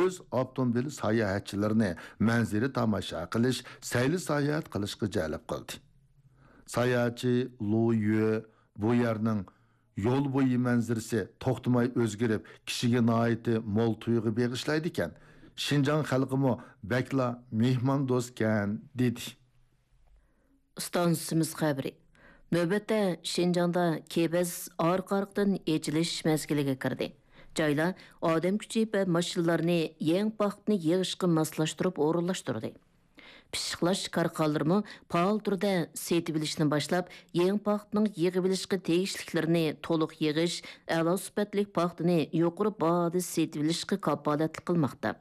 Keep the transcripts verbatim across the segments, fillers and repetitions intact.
يۈز ئاپتوموبىل ساياھەتچىلىرىنى مەنزىرە تاماشا قىلىش، سەيلە ساياھەت قىلىشقا جەلپ قىلدى. ساياھەتچى لۇ يۈ بۇ يەرنىڭ يول بويى مەنزىرىسى توختىماي ئۆزگىرىپ، كىشىگە ناھايىتى مول تۇيغۇ بېغىشلايدىكەن. شىنجاڭ خەلقىمۇ بەكلا مېھماندوستكەن، دېدى. ئىستانسىمىز خەۋىرى. نۆۋەتتە شىنجاڭدا كېۋەز ئارقا-ئارقىدىن ئېچىلىش مەزگىلىگە كىردى. جايلار ئادەم كۈچى ۋە ماشىنىلارنى يېڭى پاختىنى يىغىشقا ماسلاشتۇرۇپ ئورۇنلاشتۇردى. پىششىقلاش كارخانىلىرىمۇ پائال تۈردە سېتىۋېلىشنى باشلاپ، يېڭى پاختىنىڭ يىغىۋېلىشقا تېگىشلىكلىرىنى تولۇق يىغىش، ئەلا سۈپەتلىك پاختىنى يۇقىرى باھادا سېتىۋېلىشقا كاپالەتلىك قىلماقتا.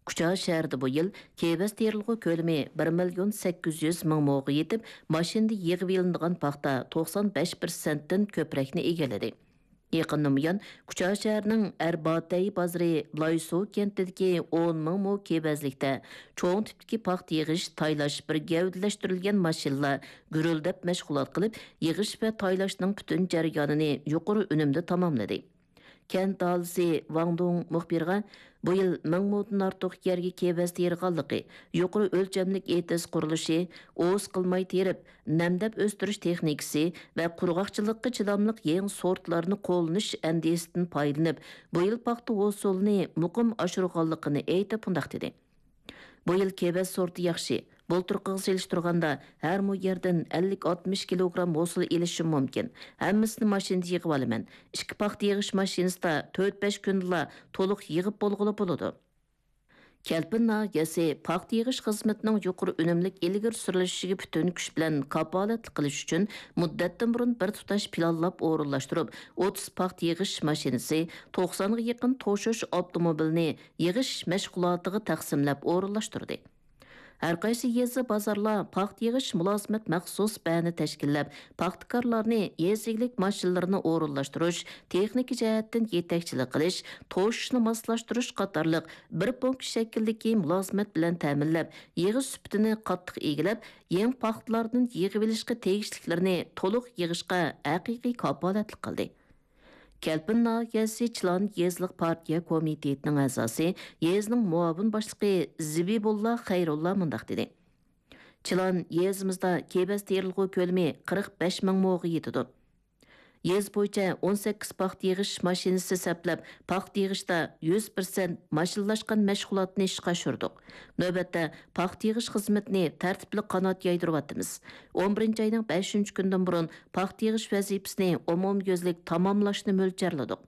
كۇچا شەھىرىدە بۇ يىل كېۋەز تېرىلغۇ كۆلىمى بىر مىليون سەككىز يۈز مىڭ موغا يېتىپ، ماشىنىدا يىغىۋېلىنىدىغان پاختا توقسان بەش پىرسەنتتىن كۆپرەكنى ئىگىلىدى. يېقىندىن بۇيان، كۇچا شەھىرىنىڭ ئەرباتەي بازىرى لايسۇ كەنتىدىكى ئون مىڭ مو كېۋەزلىكتە چوڭ تىپتىكى پاختا يىغىش، تايلاش بىر گەۋدىلەشتۈرۈلگەن ماشىنىلار گۈرۈلدەپ مەشغۇلات قىلىپ، يىغىش ۋە تايلاشنىڭ پۈتۈن جەريانىنى يۇقىرى ئۈنۈمدە تاماملىدى. كەنت ئاھالىسى ۋاڭ دۇڭ مۇخبىرغا بۇ يىل مىڭ مودىن ئارتۇق يەرگە كېۋەز تېرىغانلىقى، يۇقىرى ئۆلچەملىك ئېتىز قۇرۇلۇشى، ئوۋۇس قىلماي تېرىپ، نەمدەپ ئۆستۈرۈش تېخنىكىسى ۋە قۇرغاقچىلىققا چىداملىق يېڭى سورتلارنى قوللىنىش ئەندىزىسىدىن پايدىلىنىپ، بۇ يىل پاختا ھوسۇلىنى مۇقىم ئاشۇرغانلىقىنى ئېيتىپ، مۇنداق دېدى. بۇ يىل كېۋەز سورتى ياخشى. بۇلتۇرقىغا سېلىشتۇرغاندا، ھەر مو يەردىن ئەللىك ئاتمىش كىلوگرام ھوسۇل ئېلىشىم مۇمكىن. ھەممىسىنى ماشىنىدا يىغىۋالىمەن. ئىككى پاختا يىغىش ماشىنىسىدا تۆت-بەش كۈندىلا تولۇق يىغىپ بولغىلى بولىدۇ. كەلپىن ناھىيەسى پاختا يىغىش خىزمىتىنىڭ يۇقىرى ئۈنۈملۈك ئىلگىرى سۈرۈلۈشىگە پۈتۈن كۈچ بىلەن كاپالەتلىك قىلىش ئۈچۈن، مۇددەتتىن بۇرۇن بىر تۇتاش پىلانلاپ ئورۇنلاشتۇرۇپ، ئوتتۇز پاختا يىغىش ماشىنىسى، توقسانغا يېقىن توشۇش ئاپتوموبىلىنى يىغىش مەشغۇلاتىغا تەقسىملەپ ئورۇنلاشتۇردى. ھەرقايسى يېزا، بازارلار پاختا يىغىش مۇلازىمەت مەخسۇس بەنى تەشكىللەپ، پاختىكارلارنى يېزا ئىگىلىك ماشىنىلىرىنى ئورۇنلاشتۇرۇش، تېخنىكا جەھەتتىن يېتەكچىلىك قىلىش، توشۇشنى ماسلاشتۇرۇش قاتارلىق بىر پونكىت شەكلىدىكى مۇلازىمەت بىلەن تەمىنلەپ، يىغىش سۈپىتىنى قاتتىق ئىگىلەپ، يېڭى پاختىلاردىن يىغىۋېلىشقا تېگىشلىكلىرىنى تولۇق يىغىشقا ھەقىقىي كاپالەتلىك قىلدى. كەلپىن ناھىيەسى چىلان يېزىلىق پارتىيە كومىتېتىنىڭ ئەزاسى، يېزىنىڭ مۇئاۋىن باشلىقى زىبىبۇللا خەيرۇللا مۇنداق دېدى: چىلان يېزىمىزدا كېۋەز تېرىلغۇ كۆلىمى قىرىق بەش مىڭ موغا يېتىدۇ. يېزا بويىچە ئون سەككىز پاختا يىغىش ماشىنىسى سەپلەپ، پاختا يىغىشتا يۈز پىرسەنت ماشىنىلاشقان مەشغۇلاتنى ئىشقا ئاشۇردۇق. نۆۋەتتە پاختا يىغىش خىزمىتىنى تەرتىپلىك قانات يايدۇرۇۋاتىمىز. ئون بىرىنچى ئاينىڭ بەشىنچى كۈنىدىن بۇرۇن پاختا يىغىش ۋەزىپىسىنى ئومۇميۈزلۈك تاماملاشنى مۆلچەرلىدۇق.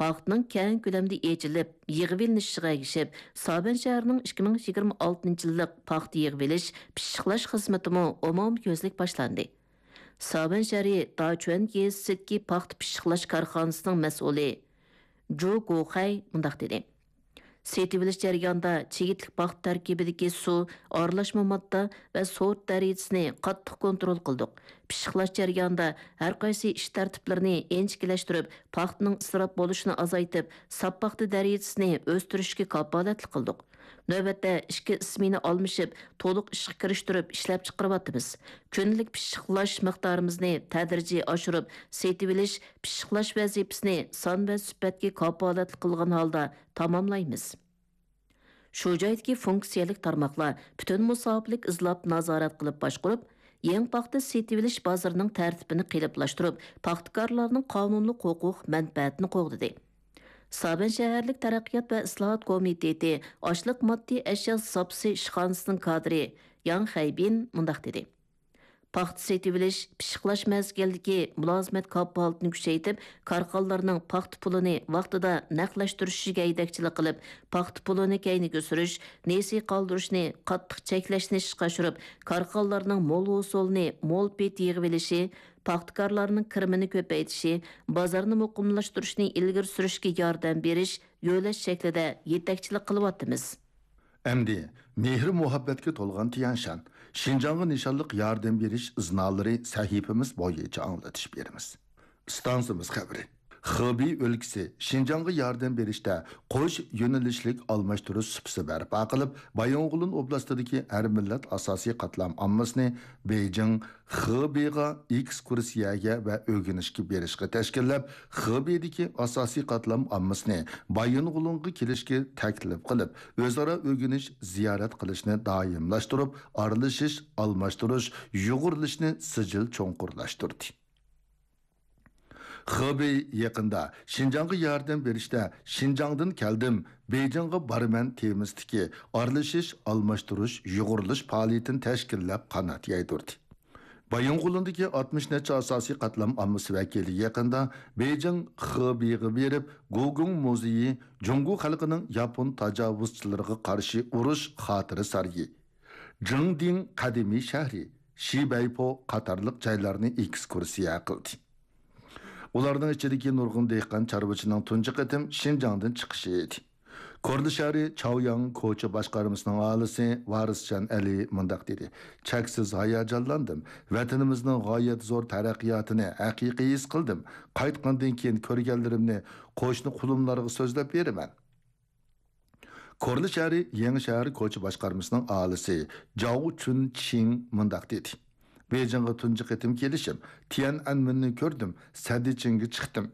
پاختىنىڭ كەڭ كۆلەمدە ئېچىلىپ، يىغىۋېلىنىشىغا ئەگىشىپ، سابەن شەھىرىنىڭ ئىككى مىڭ يىگىرمە ئالتىنچى يىللىق پاختا يىغىۋېلىش، پىششىقلاش خىزمىتىمۇ ئومۇميۈزلۈك باشلاندى. سابەن شەھىرى داچۈەن يېزىسىدىكى پاختا پىششىقلاش كارخانىسىنىڭ مەسئۇلى جۇ گوخەي مۇنداق دېدى: سېتىۋېلىش جەريانىدا چىگىتلىك پاختا تەركىبىدىكى سۇ، ئارىلاشما ماددا ۋە سورت دەرىجىسىنى قاتتىق كونترول قىلدۇق. پىششىقلاش جەريانىدا ھەرقايسى ئىش تەرتىپلىرىنى ئىنچىكىلەشتۈرۈپ، پاختىنىڭ ئىسراپ بولۇشىنى ئازايتىپ، ساپ پاختا دەرىجىسىنى ئۆستۈرۈشكە كاپالەتلىك قىلدۇق. نۆۋەتتە ئىككى ئىسمېنا ئالمىشىپ، تولۇق ئىشقا كىرىشتۈرۈپ ئىشلەپچىقىرىۋاتىمىز. كۈندىلىك پىششىقلاش مىقدارىمىزنى تەدرىجىي ئاشۇرۇپ، سېتىۋېلىش، پىششىقلاش ۋەزىپىسىنى سان ۋە سۈپەتكە كاپالەتلىك قىلغان ھالدا تاماملايمىز. شۇ جايدىكى فۇنكسىيەلىك تارماقلار پۈتۈن مۇساپىلىك ئىزلاپ نازارەت قىلىپ باشقۇرۇپ، يېڭى پاختا سېتىۋېلىش بازىرىنىڭ تەرتىپىنى قېلىپلاشتۇرۇپ، پاختىكارلارنىڭ قانۇنلۇق ھوقۇق مەنپەئەتىنى قوغدىدى. سابەن شەھەرلىك تەرەققىيات ۋە ئىسلاھات كومىتېتى ئاشلىق ماددىي ئەشيا زاپىسى ئىشخانىسىنىڭ كادىرى ياڭ خەيبىن مۇنداق دېدى: پاختا سېتىۋېلىش، پىششىقلاش مەزگىلىدىكى مۇلازىمەت كاپالىتىنى كۈچەيتىپ، كارخانىلارنىڭ پاختا پۇلىنى ۋاقتىدا نەقلەشتۈرۈشىگە يېتەكچىلىك قىلىپ، پاختا پۇلىنى كەينىگە سۈرۈش، نېسى قالدۇرۇشنى قاتتىق چەكلەشنى ئىشقا ئاشۇرۇپ، كارخانىلارنىڭ مول ھوسۇلنى مول پېتى يىغىۋېلىشى، پاختىكارلارنىڭ كىرىمىنى كۆپەيتىشى، بازارنى مۇقىملاشتۇرۇشنى ئىلگىرى سۈرۈشكە ياردەم بېرىش، يۆلەش شەكلىدە يېتەكچىلىك قىلىۋاتىمىز. ئەمدى مېھرى-مۇھەببەتكە تولغان تيەنشان، شىنجاڭغا نىشانلىق ياردەم بېرىش ئىزنالىرى سەھىپىمىز بويىچە ئاڭلىتىش بېرىمىز. ئىستانسىمىز خەۋىرى. خېبېي ئۆلكىسى شىنجاڭغا ياردەم بېرىشتە قوش يۆنىلىشلىك ئالماشتۇرۇش سۇپىسى بەرپا قىلىپ، بايىنغولىن ئوبلاستىدىكى ھەر مىللەت ئاساسىي قاتلام ئاممىسىنى بېيجىڭ، خېبېيغا ئېكسكۇرسىيەگە ۋە ئۆگىنىشكە بېرىشقا تەشكىللەپ، خېبېيدىكى ئاساسىي قاتلام ئاممىسىنى بايىنغولىنغا كېلىشكە تەكلىپ قىلىپ، ئۆزئارا ئۆگىنىش، زىيارەت قىلىشنى دائىملاشتۇرۇپ، ئارىلىشىش، ئالماشتۇرۇش، يۇغۇرۇلۇشنى سىجىل چوڭقۇرلاشتۇردى. خېبېي يېقىندا شىنجاڭغا ياردەم بېرىشتە شىنجاڭدىن كەلدىم، بېيجىڭغا بارىمەن تېمىسىدىكى ئارىلىشىش، ئالماشتۇرۇش، يۇغۇرۇلۇش پائالىيىتىنى تەشكىللەپ قانات يايدۇردى. بايىنغولىندىكى ئاتمىش نەچچە ئاساسىي قاتلام ئاممىسى ۋەكىلى يېقىندا بېيجىڭ خېبېيغا بېرىپ، گوگۇڭ مۇزېيى، جۇڭگو خەلقىنىڭ ياپون تاجاۋۇزچىلىرىغا قارشى ئۇرۇش خاتىرە سارىيى، جىڭدىڭ قەدىمىي شەھىرى، شىبەيپو قاتارلىق جايلارنى ئېكسكۇرسىيە قىلدى. ئۇلارنىڭ ئىچىدىكى نۇرغۇن دېھقان چارۋىچىنىڭ تۇنجى قېتىم شىنجاڭدىن چىقىشى ئىدى. كورلا شەھىرى چاۋياڭ كوچا باشقارمىسىنىڭ ئاھالىسى ۋارىسجان ئەلى مۇنداق دېدى: «چەكسىز ھاياجانلاندىم. ۋەتىنىمىزنىڭ غايەت زور تەرەققىياتىنى ھەقىقىي ھېس قىلدىم. قايتقاندىن كېيىن كۆرگەنلىرىمنى قوشنا قۇلۇملارغا سۆزلەپ بېرىمەن.» كورلا شەھىرى يېڭى شەھەر كوچا باشقارمىسىنىڭ ئاھالىسى جاۋ چۈن چىڭ مۇنداق دېدى: «بېيجىڭغا تۇنجى قېتىم كېلىشىم، تيەنئەنمېننى كۆردۈم، سەددىچىڭگە چىقتىم.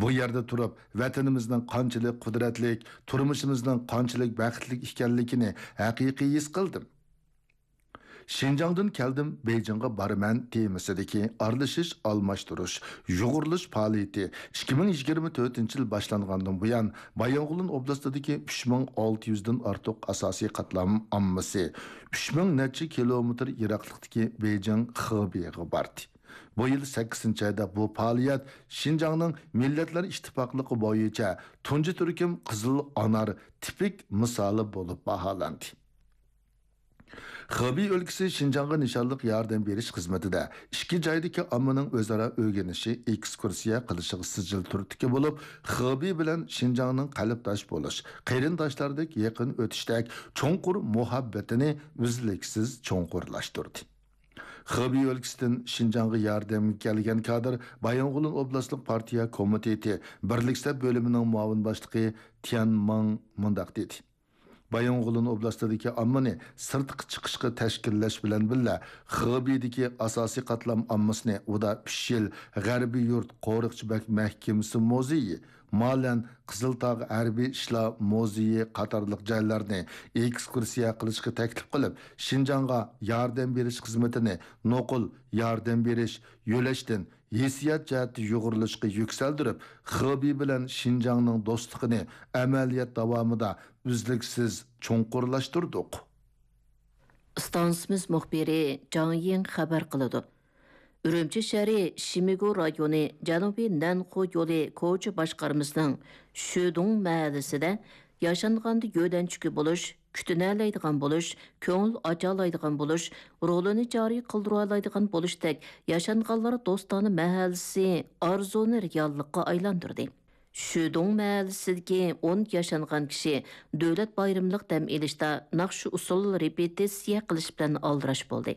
بۇ يەردە تۇرۇپ، ۋەتىنىمىزنىڭ قانچىلىك قۇدرەتلىك، تۇرمۇشىمىزنىڭ قانچىلىك بەختلىك ئىكەنلىكىنى ھەقىقىي ھېس قىلدىم.» شىنجاڭدىن كەلدىم، بېيجىڭغا بارىمەن تېمىسىدىكى ئارىلىشىش، ئالماشتۇرۇش، يۇغۇرۇلۇش پائالىيىتى ئىككى مىڭ يىگىرمە تۆتىنچى يىل باشلانغاندىن بۇيان، بايىنغولىن ئوبلاستىدىكى ئۈچ مىڭ ئالتە يۈزدىن ئارتۇق ئاساسىي قاتلام ئاممىسى ئۈچ مىڭ نەچچە كىلومېتىر يىراقلىقتىكى بېيجىڭ خېبېيغا باردى. بۇ يىل سەككىزىنچى ئايدا بۇ پائالىيەت شىنجاڭنىڭ مىللەتلەر ئىتتىپاقلىقى بويىچە تۇنجى تۈركۈم قىزىل ئانار تىپىك مىسالى بولۇپ باھالاندى. خېبېي ئۆلكىسى شىنجاڭغا نىشانلىق ياردەم بېرىش خىزمىتىدە ئىككى جايدىكى ئاممىنىڭ ئۆزئارا ئۆگىنىشى، ئېكسكۇرسىيە قىلىشىغا سىجىل تۈرتكە بولۇپ، خېبېي بىلەن شىنجاڭنىڭ قەلبداش بولۇش، قېرىنداشلاردەك يېقىن ئۆتۈشتەك چوڭقۇر مۇھەببىتىنى ئۈزلۈكسىز چوڭقۇرلاشتۇردى. خېبېي ئۆلكىسىدىن شىنجاڭغا ياردەمگە كەلگەن كادىر بايىنغولىن ئوبلاستلىق پارتىيە كومىتېتى بىرلىك سەپ بۆلۈمىنىڭ مۇئاۋىن باشلىقى تيەن ماڭ مۇنداق دېدى: «بايىنغولىن ئوبلاستىدىكى ئاممىنى سىرتقا چىقىشقا تەشكىللەش بىلەن بىللە، خېبېيدىكى ئاساسىي قاتلام ئاممىسىنى ئۇدا ئۈچ يىل غەربىي يۇرت قورۇقچى بەگ مەھكىمىسى مۇزېيى، مالەن قىزىلتاغ ھەربىي ئىشلار مۇزېيى قاتارلىق جايلارنى ئېكسكۇرسىيە قىلىشقا تەكلىپ قىلىپ، شىنجاڭغا ياردەم بېرىش خىزمىتىنى نوقۇل ياردەم بېرىش يۆلەشتىن ھېسسىيات جەھەتتە يۇغۇرۇلۇشقا يۈكسەلدۈرۈپ، خېبېي بىلەن شىنجاڭنىڭ دوستلۇقىنى ئەمەلىيەت داۋامىدا ئۈزلۈكسىز چوڭقۇرلاشتۇردۇق.» ئىستانسىمىز مۇخبىرى جاڭ يىڭ خەۋەر قىلىدۇ. ئۈرۈمچى شەھىرى شىمىگۇ رايونى جەنۇبىي نەنخۇ يولى كوچا باشقارمىسىنىڭ شۈدۇڭ مەھەللىسىدە ياشانغاندا يۆلەنچۈكى بولۇش، كۈتۈنەلەيدىغان بولۇش، كۆڭۈل ئاچالايدىغان بولۇش، رولىنى جارى قىلدۇرالايدىغان بولۇشتەك ياشانغانلار دوستانە مەھەللىسى ئارزۇنى رېئاللىققا ئايلاندۇردى. شۈدۇڭ مەھەللىسىدىكى ئون ياشانغان كىشى دۆلەت بايرىملىق دەم ئېلىشتا ناخشا ئۇسسۇل رېپېتىتسىيە قىلىش بىلەن ئالدىراش بولدى.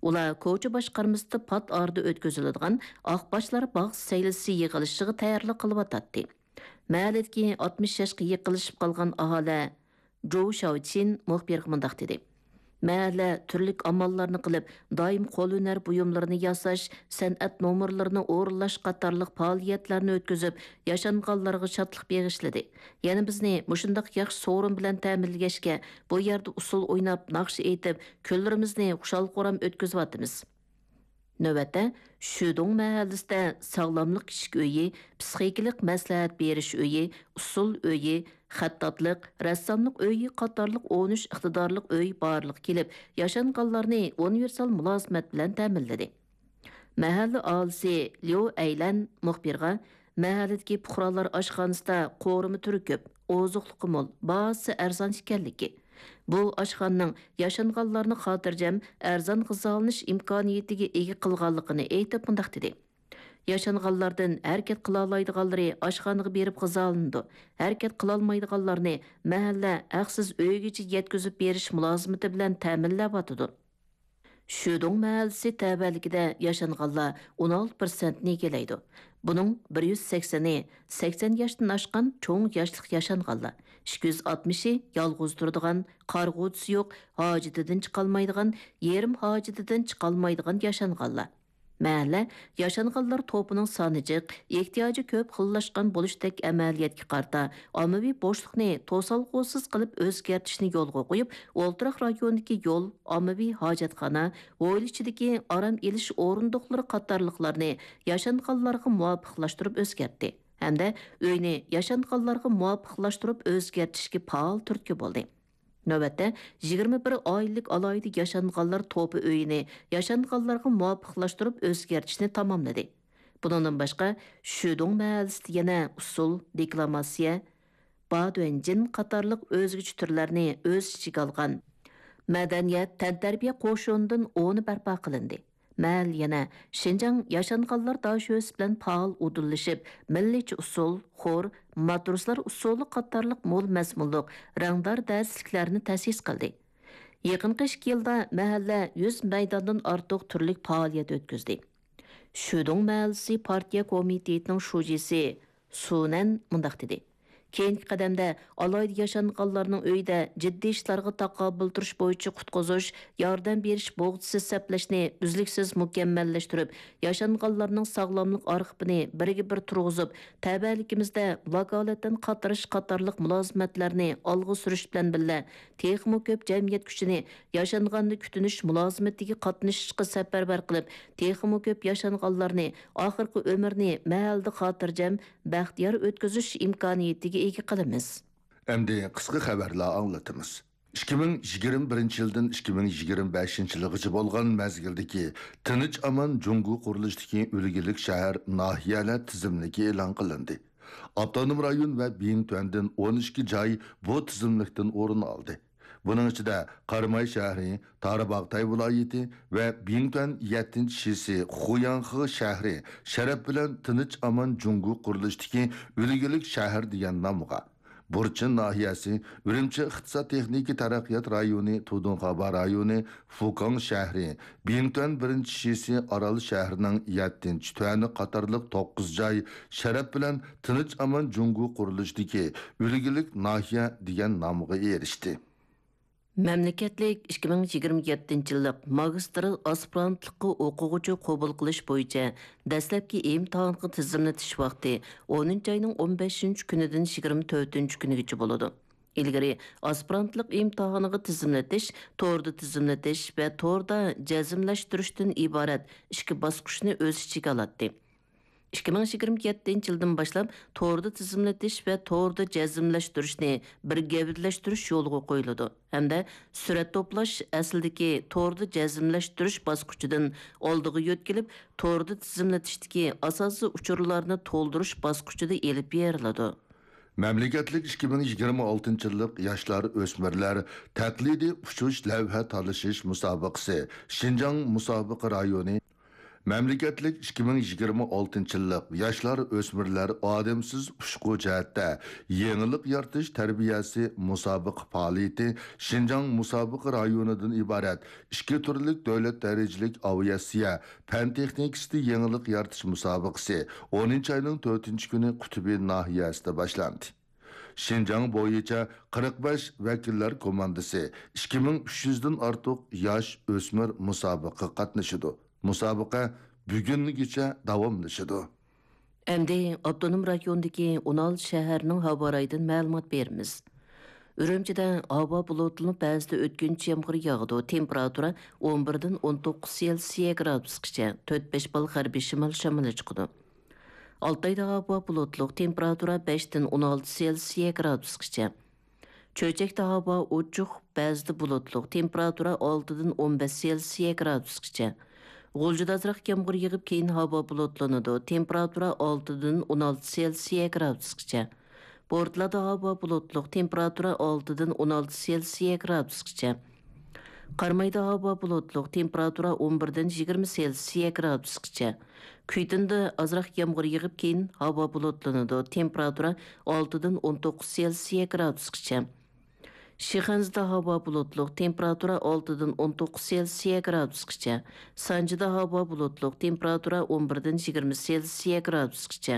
ئۇلار كوچا باشقارمىسىدا پات ئارىدا ئۆتكۈزۈلىدىغان ئاقباشلار باغ سەيلىسى يىغىلىشىغا تەييارلىق قىلىۋاتاتتى. مەھەللىدىكى ئاتمىش ياشقا يېقىنلىشىپ قالغان ئاھالە جوۋ شاۋچىن مۇخبىرغا مۇنداق دېدى: «مەھەللە تۈرلۈك ئاماللارنى قىلىپ، دائىم قول ھۈنەر بۇيۇملىرىنى ياساش، سەنئەت نومۇرلىرىنى ئورۇنلاش قاتارلىق پائالىيەتلەرنى ئۆتكۈزۈپ، ياشانغانلارغا شادلىق بېغىشلىدى. يەنە بىزنى مۇشۇنداق ياخشى سورۇن بىلەن تەمىنلىگەچكە، بۇ يەردە ئۇسسۇل ئويناپ، ناخشا ئېيتىپ، كۈنلىرىمىزنى خۇشال-خۇرام ئۆتكۈزۈۋاتىمىز.» نۆۋەتتە، شۈدۇڭ مەھەللىسىدە ساغلاملىق كىچىك ئۆيى، پىسخىكىلىق مەسلىھەت بېرىش ئۆيى، ئۇسسۇل ئۆيى، خەتتاتلىق، رەسساملىق ئۆيى قاتارلىق ئون ئۈچ ئىقتىدارلىق ئۆي بارلىققا كېلىپ، ياشانغانلارنى ئۇنىۋېرسال مۇلازىمەت بىلەن تەمىنلىدى. مەھەللە ئاھالىسى ليۇ ئەيلەن مۇخبىرغا مەھەللىدىكى پۇقرالار ئاشخانىسىدا قورۇما تۈرى كۆپ، ئوزۇقلۇقى مول، باھاسى ئەرزان ئىكەنلىكى، بۇ ئاشخانىنىڭ ياشانغانلارنى خاتىرجەم، ئەرزان غىزالىنىش ئىمكانىيىتىگە ئىگە قىلغانلىقىنى ئېيتىپ مۇنداق دېدى: «ياشانغانلاردىن ھەرىكەت قىلالايدىغانلىرى ئاشخانىغا بېرىپ غىزالىنىدۇ، ھەرىكەت قىلالمايدىغانلارنى مەھەللە ھەقسىز ئۆيىگىچە يەتكۈزۈپ بېرىش مۇلازىمىتى بىلەن تەمىنلەۋاتىدۇ.» شۈدۇڭ مەھەللىسى تەۋەلىكىدە ياشانغانلار ئون ئالتە پىرسەنتنى ئىگىلەيدۇ. بۇنىڭ بىر يۈز سەكسىنى سەكسەن ياشتىن ئاشقان چوڭ ياشلىق ياشانغانلار، ئىككى يۈز ئاتمىشى يالغۇز تۇرىدىغان، قارىغۇچىسى يوق، ھاجىتىدىن چىقالمايدىغان، يېرىم ھاجىتىدىن چىقالمايدىغان ياشانغانلار. مەھەللە ياشانغانلار توپىنىڭ سانى جىق، ئېھتىياجى كۆپ خىللاشقان بولۇشتەك ئەمەلىيەتكە قارىتا، ئاممىۋى بوشلۇقنى توسالغۇسىز قىلىپ ئۆزگەرتىشنى يولغا قويۇپ، ئولتۇراق رايوندىكى يول، ئاممىۋى ھاجەتخانا، ھويلا ئىچىدىكى ئارام ئېلىش ئورۇندۇقلىرى قاتارلىقلارنى ياشانغانلارغا مۇۋاپىقلاشتۇرۇپ ئۆزگەرتتى ھەمدە ئۆينى ياشانغانلارغا مۇۋاپىقلاشتۇرۇپ ئۆزگەرتىشكە پائال تۈرتكە بولدى. نۆۋەتتە، يىگىرمە بىر ئائىلىلىك ئالاھىدە ياشانغانلار توپى ئۆيىنى ياشانغانلارغا مۇۋاپىقلاشتۇرۇپ ئۆزگەرتىشنى تاماملىدى. بۇنىڭدىن باشقا، شۈدۇڭ مەھەللىسىدە يەنە ئۇسسۇل، دېكلاماتسىيە، بادۇەنجىن قاتارلىق ئۆزگىچە تۈرلەرنى ئۆز ئىچىگە ئالغان مەدەنىيەت، تەنتەربىيە قوشۇنىدىن ئونى بەرپا قىلىندى. مەھەللە يەنە شىنجاڭ ياشانغانلار داشۆسى بىلەن پائال ئۇدۇللىشىپ، مىللىيچە ئۇسسۇل، خور، ماتروسلار ئۇسسۇلى قاتارلىق مول مەزمۇنلۇق، رەڭدار دەرسلىكلەرنى تەسىس قىلدى. يېقىنقى ئىككى يىلدا مەھەللە يۈز مەيداندىن ئارتۇق تۈرلۈك پائالىيەت ئۆتكۈزدى. شۈدۇڭ مەھەللىسى پارتىيە كومىتېتىنىڭ شۇجىسى سۇنەن مۇنداق دېدى: كېيىنكى قەدەمدە ئالاھىدە ياشانغانلارنىڭ ئۆيىدە جىددىي ئىشلارغا تاقابىل تۇرۇش بويىچە قۇتقۇزۇش، ياردەم بېرىش بوغچىسى سەپلەشنى ئۈزلۈكسىز مۇكەممەللەشتۈرۈپ، ياشانغانلارنىڭ ساغلاملىق ئارخىپىنى بىرگە بىر تۇرغۇزۇپ، تەۋەلىكىمىزدە ۋاكالىتەن قاتنىشىش قاتارلىق مۇلازىمەتلەرنى ئالغا سۈرۈش بىلەن بىللە، تېخىمۇ كۆپ جەمئىيەت كۈچىنى ياشانغاننى كۈتۈنۈش مۇلازىمىتىگە قاتنىشىشقا سەپەرۋەر قىلىپ، تېخىمۇ كۆپ ياشانغانلارنى ئاخىرقى ئۆمرىنى مەھەلدە خاتىرجەم، بەختىيار ئۆتكۈزۈش ئىمكانىيىتىگە ئىگە قىلىمىز. ئەمدى قىسقا خەۋەرلەر ئاڭلىتىمىز. ئىككى مىڭ يىگىرمە بىرىنچى يىلدىن ئىككى مىڭ يىگىرمە بەشىنچى يىلغىچە بولغان مەزگىلدىكى تىنچ ئامان جۇڭگو قۇرۇلۇشىدىكى ئۈلگىلىك شەھەر، ناھىيەلەر تىزىملىكى ئېلان قىلىندى. ئاپتونوم رايون ۋە بىڭتۈەندىن ئون ئىككى جاي بۇ تىزىملىكتىن ئورۇن ئالدى. بۇنىڭ ئىچىدە قاراماي شەھىرى، تارباغاتاي ۋىلايىتى ۋە بىڭتۈەن يەتتىنچى شىسى، خۇياڭخې شەھىرى شەرەپ بىلەن تىنچ ئامان جۇڭگو قۇرۇلۇشىدىكى ئۈلگىلىك شەھەر دېگەن نامغا، بۇرچىن ناھىيەسى، ئۈرۈمچى ئىقتىساد تېخنىكا تەرەققىيات رايونى، تۇدۇڭخابا رايونى، فۇكاڭ شەھىرى، بىڭتۈەن بىرىنچى شىسى، ئارال شەھىرىنىڭ يەتتىنچى تۈەنى قاتارلىق توققۇز جاي شەرەپ بىلەن تىنچ ئامان جۇڭگو قۇرۇلۇشىدىكى ئۈلگىلىك ناھىيە دېگەن نامغا ئېرىشتى. مەملىكەتلىك ئىككى مىڭ يىگىرمە يەتتىنچى يىللىق ماگىستىر ئاسپىرانتلىققا ئوقۇغۇچى قوبۇل قىلىش بويىچە دەسلەپكى ئىمتىھانغا تىزىملىتىش ۋاقتى ئونىنچى ئاينىڭ ئون بەشىنچى كۈنىدىن يىگىرمە تۆتىنچى كۈنىگىچە بولىدۇ. ئىلگىرى ئاسپىرانتلىق ئىمتىھانىغا تىزىملىتىش توردا تىزىملىتىش ۋە توردا جەزملەشتۈرۈشتىن ئىبارەت ئىككى باسقۇچنى ئۆز ئىچىگە ئالاتتى. ئىككى مىڭ يىگىرمە يەتتىنچى يىلدىن باشلاپ توردا تىزىملىتىش ۋە توردا جەزملەشتۈرۈشنى بىر گەۋدىلەشتۈرۈش يولغا قويۇلىدۇ ھەمدە سۈرەت توپلاش ئەسلىدىكى توردا جەزملەشتۈرۈش باسقۇچىدىن ئالدىغا يۆتكىلىپ، توردا تىزىملىتىشتىكى ئاساسىي ئۇچۇرلارنى تولدۇرۇش باسقۇچىدا ئېلىپ بېرىلىدۇ. مەملىكەتلىك ئىككى مىڭ يىگىرمە ئالتىنچى يىللىق ياشلار، ئۆسمۈرلەر تەقلىدىي ئۇچۇش لەۋھە تالىشىش مۇسابىقىسى شىنجاڭ مۇسابىقە رايونى، مەملىكەتلىك ئىككى مىڭ يىگىرمە ئالتىنچى يىللىق ياشلار، ئۆسمۈرلەر ئادەمسىز ئۇچقۇ جەھەتتە يېڭىلىق يارىتىش تەربىيەسى مۇسابىقە پائالىيىتى شىنجاڭ مۇسابىقە رايونىدىن ئىبارەت ئىككى تۈرلۈك دۆلەت دەرىجىلىك ئاۋىئاتسىيە پەن تېخنىكىسىدا يېڭىلىق يارىتىش مۇسابىقىسى ئونىنچى ئاينىڭ تۆتىنچى كۈنى قۇتۇبى ناھىيەسىدە باشلاندى. شىنجاڭ بويىچە قىرىق بەش ۋەكىللەر كوماندىسى، ئىككى مىڭ ئۈچ يۈزدىن ئارتۇق ياش ئۆسمۈر مۇسابىقىگە قاتنىشىدۇ. مۇسابىقە بۈگۈنگىچە داۋاملىشىدۇ. ئەمدى ئاپتونوم رايوندىكى ئون ئالتە شەھەرنىڭ ھاۋا رايىدىن مەلۇمات بېرىمىز. ئۈرۈمچىدە ھاۋا بۇلۇتلىنىپ، بەزىدە ئۆتكۈنچى يامغۇر ياغىدۇ. تېمپېراتۇرا ئون بىردىن ئون توققۇز سېلسىيە گرادۇسقىچە، تۆت بەش بال غەربىي شىمال شامىلى چىقىدۇ. ئالتايدا ھاۋا بۇلۇتلۇق، تېمپېراتۇرا بەشتىن ئون ئالتە سېلسىيە گرادۇسقىچە. چۆچەكتە ھاۋا ئوچۇق، بەزىدە بۇلۇتلۇق، تېمپېراتۇرا ئالتىدىن ئون بەش سېلسىيە گرادۇسقىچە. غۇلجىدا ئازراق يامغۇر يېغىپ، كېيىن ھاۋا بۇلۇتلىنىدۇ، تېمپېراتۇرا ئالتىدىن ئون ئالتە سېلسىيە گرادۇسقىچە. بورتالادا ھاۋا بۇلۇتلۇق، تېمپېراتۇرا ئالتىدىن ئون ئالتە سېلسىيە گرادۇسقىچە. قارامايدا ھاۋا بۇلۇتلۇق، تېمپېراتۇرا ئون بىردىن يىگىرمە سېلسىيە گرادۇسقىچە. كۈيتۇندا ئازراق يامغۇر يېغىپ، كېيىن ھاۋا بۇلۇتلىنىدۇ، تېمپېراتۇرا ئالتىدىن ئون توققۇز سېلسىيە گرادۇسقىچە. شىخەنزىدە ھاۋا بۇلۇتلۇق، تېمپېراتۇرا ئالتىدىن ئون توققۇز سېلسىيە گرادۇسقىچە. سانجىدا ھاۋا بۇلۇتلۇق، تېمپېراتۇرا ئون بىردىن يىگىرمە سېلسىيە گرادۇسقىچە.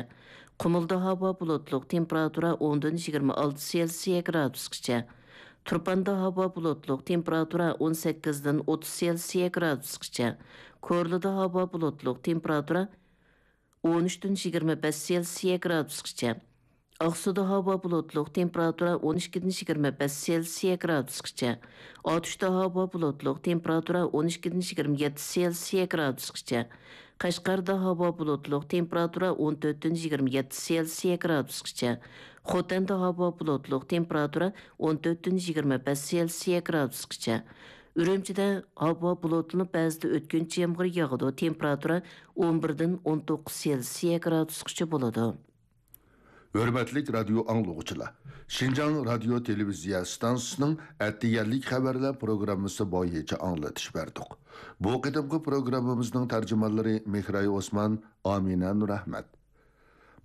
قۇمۇلدا ھاۋا بۇلۇتلۇق، تېمپېراتۇرا ئوندىن يىگىرمە ئالتە سېلسىيە گرادۇسقىچە. تۇرپاندا ھاۋا بۇلۇتلۇق، تېمپېراتۇرا ئون سەككىزدىن ئوتتۇز سېلسىيە گرادۇسقىچە. كورلىدا ھاۋا بۇلۇتلۇق، تېمپېراتۇرا ئون ئۈچتىن يىگىرمە بەش سېلسىيە گرادۇسقىچە. ئاقسۇدا ھاۋا بۇلۇتلۇق، تېمپېراتۇرا ئون ئىككىدىن يىگىرمە بەش سېلسىيە گرادۇسقىچە. ئاتۇشتا ھاۋا بۇلۇتلۇق، تېمپېراتۇرا ئون ئىككىدىن يىگىرمە يەتتە سېلسىيە گرادۇسقىچە. قەشقەردە ھاۋا بۇلۇتلۇق، تېمپېراتۇرا ئون تۆتتىن يىگىرمە يەتتە سېلسىيە گرادۇسقىچە. خوتەندە ھاۋا بۇلۇتلۇق، تېمپېراتۇرا ئون تۆتتىن يىگىرمە بەش سېلسىيە گرادۇسقىچە. ئۈرۈمچىدە ھاۋا بۇلۇتلىنىپ، بەزىدە ئۆتكۈنچى يامغۇر ياغىدۇ، تېمپېراتۇرا ئون بىردىن ئون توققۇز سېلسىيە گرادۇسقىچە بولىدۇ. ھۆرمەتلىك رادىيو ئاڭلىغۇچىلار! شىنجاڭ رادىيو تېلېۋىزىيە ئىستانسىسىنىڭ ئەتىگەنلىك خەۋەرلەر پروگراممىسى بويىچە ئاڭلىتىش بەردۇق. بۇ قېتىمقى پروگراممىمىزنىڭ تەرجىمانلىرى مېھراي ئوسمان، ئامىنە نۇرئەھمەت.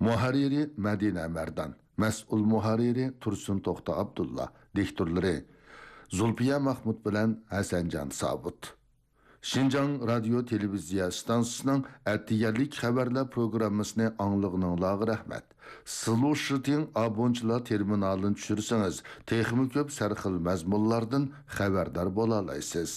مۇھەررىرى مەدىنە مەردان، مەسئۇل مۇھەررىرى تۇرسۇن توختى ئابدۇللا، دىكتورلىرى زۇلپىيە مەخمۇت بىلەن ھەسەنجان سابىت. شىنجاڭ رادىيو تېلېۋىزىيە ئىستانسىسىنىڭ ئەتىگەنلىك خەۋەرلەر پروگراممىسىنى ئاڭلىغىنىڭلارغا رەھمەت. سىلۇشىتىڭ ئابونچىلار تېرمىنالىنى چۈشۈرسىڭىز، تېخىمۇ كۆپ سەرخىل مەزمۇنلاردىن خەۋەردار بولالايسىز.